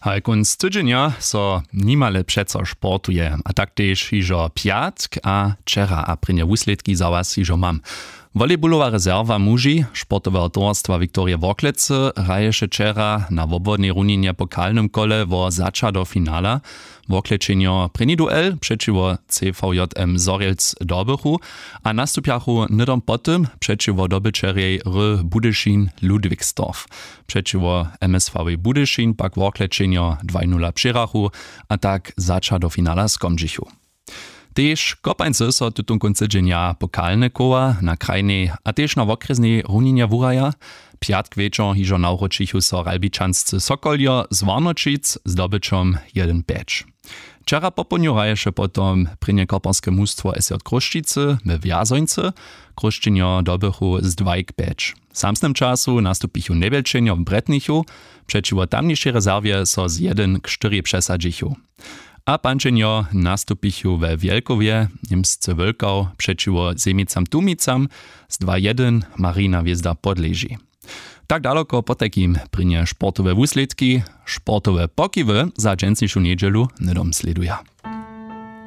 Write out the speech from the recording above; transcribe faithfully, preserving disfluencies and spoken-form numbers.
Haj kónc tydźenja so nimale přeco sportuje, a tak tež hižo pjatk a wčera a prěnje wuslědki za was hižo mam. Volejbulowa rezerwa muži sportoweho towarstwa wiktorije worklecy hraješe wčera na wobwodnej runinje po kalnym kole wo zača do finala. Worklećenjo prěni duel přećiwo cvjm zorjelc dobychu a nastupjachu hnydom po tym přećiwo dobyćerjej ry budyšin ludwigsdorf. Přećiwo msv-wej budyšin pak worklećenjo dwaj nula přěhrachu, a tak zača do finala skomdźichu. Tež kopańcy so tutón kónc tydźenja pokalne koła na krajnej a tež na wokrjesnej runinje wuraja. Pjatk wječor hižo nawróćichu so ralbičanscy sokoljo z warnoćic z dobyćom jedyn pjeć. Wčera popołdnju hraješe potom prěnje koparske mustwo sj chrósćicy we wjazońcy. Chrósćenjo dobychu z dwajk pjeć. W samsnym času nastupichu njewjelčenjo w bretnichu. Přećiwo tamnišej rezerwje so z jedyn k štyri přesadźichu. A pančenjo nastupichu we wjelkowje, němsce wólkał přećiwo zemicam tumicam z dwa jedyn. Marina hwězda podleži. Tak daloko potajkim prěnje sportowe wuslědki. Sportowe pokiwy za dźensnišu njedźelu hnydom slěduja.